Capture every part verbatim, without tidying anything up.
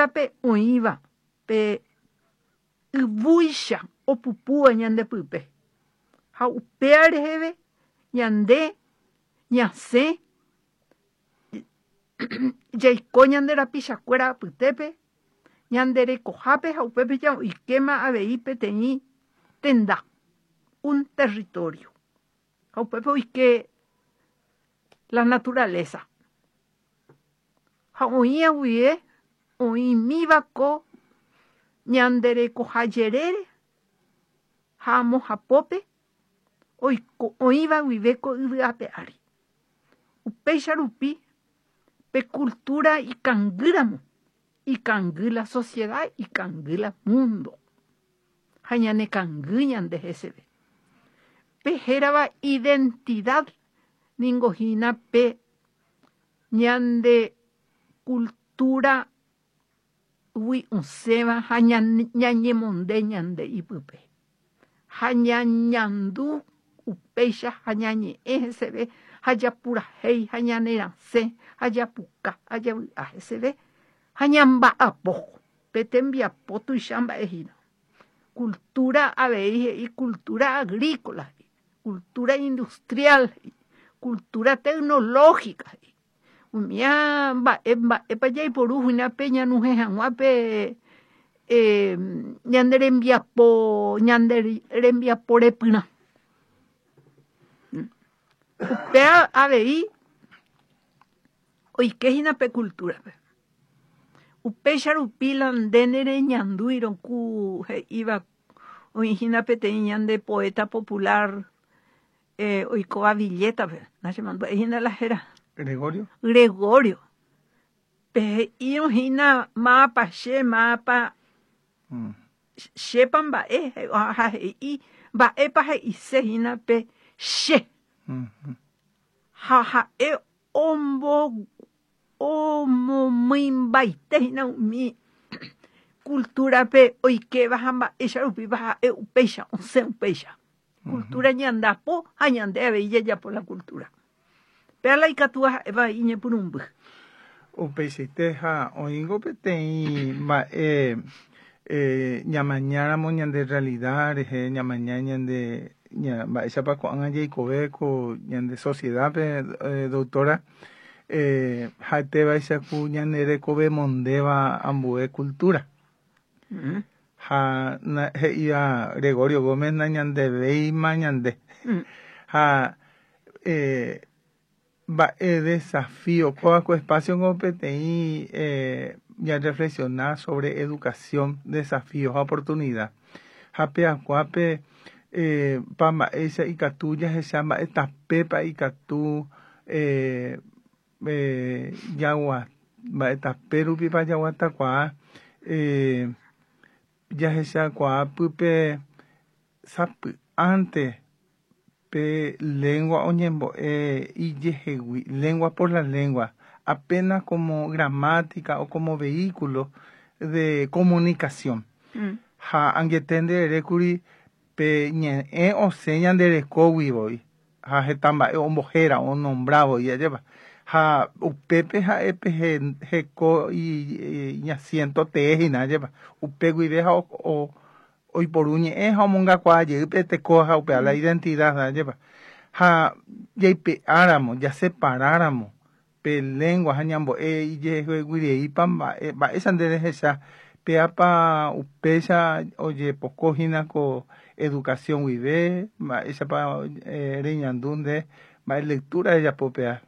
Cultura-pe oĩva pe yvúicha opupúva ñandepype ha upéva reheve ñande ñasẽ jaiko ñande rapichakuéra apytépe ñande rekohápe ha upépe oikéma avei peteĩ tenda, un territorio, ha upépe oike la naturaleza ha oĩ guive oĩmíva ko ñande rekoha jerére ha amo hapópe oiko oĩva guive ko yvy ape ári. Upéicha rupi pe cultura ikangýramo, ikangy la sociedad, ikangy la mundo ha ñanekangy ñande heseve. Pe hérava identidad ningo hína pe ñande cultura gui osẽva ha ñañemonde ñande ipype ha ñañandu upéicha ha ñañe'ẽ heseve ha japurahéi ha ñanerasẽ ha japuka ha javy'a heseve ha ñamba'apo pe tembiapo tuicha mba'e hína. Cultura avei he'i cultura agrícola, cultura industrial, cultura tecnológica, umíva mba'e mba'épa jaiporu hína pe ñanuhẽ hag̃ua pe eh, ñande rembiapo ñande rembiapo repyrã. Upéva avei oikehína pe cultura-pe. Upéicha rupi la nde nereñandúirõ ku he'íva oĩhína peteĩ ñande poeta popular eh, oikóva Villeta-pe, nachemandu'aihína la héra. Gregorio. Gregorio. Pe he'írõ hína mápa che mápa Mm. chépa mba'e ha he'i mba'épa he'ise hína pe che Mm. ha ha'e ombo omomýimbaite hína umi cultura-pe oikéva ha mba'éicha rupípa ha'e upéicha osẽ upéicha. Cultura ñandapo ha ñande avei jajapo la cultura. Péa la ikatúva ha'éva iñepyrũmby. Upeichaite ha oĩngo peteĩ mba'e eh, ñamañáramo ñande realidad rehe, ñamaña ñande ña, mba'éichapa ko'ág̃a jaikove ko ñande sociedad-pe, eh, doctora, eh, ha'etévaicha ku ñane rekove mondéva ambue cultura. Mm. Ha na, he'íva Gregorio Gómez nañandevéima ñande. Mm. Ha eh, mba'e desafío kóva ko espacio ko peteĩ eh, ñareflexionar sobre educación, desafío ha oportunidad. Ha peakuápe eh, pa mba'éicha ikatu jahecha mba'e tapépa ikatu eh, eh, jagua mba'e tape rupipa jaguatakuaa eh, jahechakuaa pype sapy'ánte pe lengua oñembo'e ijehegui, lengua por la lengua, apenas como gramática o como vehículo de comunicación. Mm. Ha angete ndererékuri pe ñe'ẽ osẽ ñanderekógui voi ha heta mba'e ombohéra onombravo ajépa ha upépe ha'e pe heko iñasiento tee hína ajépa upe guive ha o, oiporu ñe'ẽ ha omongakuaa jey pe teko ha upéva la identidad ajépa ha jaipe'áramo jaseparáramo pe lengua ha ñambo'e ijeheguireípa mba'e mba'éicha nde rehecha péapa upéicha ojepoko hína ko educación guive mba'éichapa eh, reñandu nde mba'e lectura rejapo péa.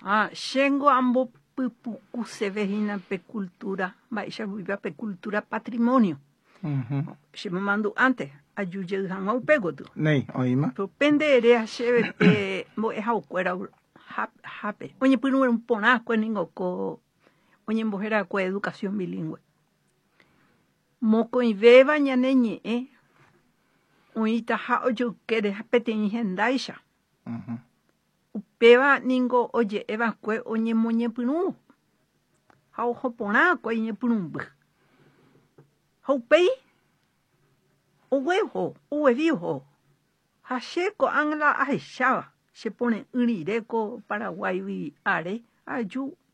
Ah, chéngo ambopypukuseve hína pe cultura mba'éicha guive pe cultura patrimonio. Uh-huh. Chemomandu'ánte aju jey hag̃ua upe gotyo. Néi, oĩma. Upe nde ere chéve pe mbo'ehaokuéra hápe oñepyrũ porãkue ningo ko oñembohérakue educación bilingüe. Mokõivéva ñane ñe'ẽ oĩtaha ojoykére peteĩ hendáicha. Uh-huh. Upéva ningo oje'eva'ekue oñemoñepyrũ ha oho porãkue iñepyrũmby. Ha upéi ogueho, oguevi oho ha che ko'ág̃a la ahecháva chepore'ỹ rire ko Paraguáigui are aju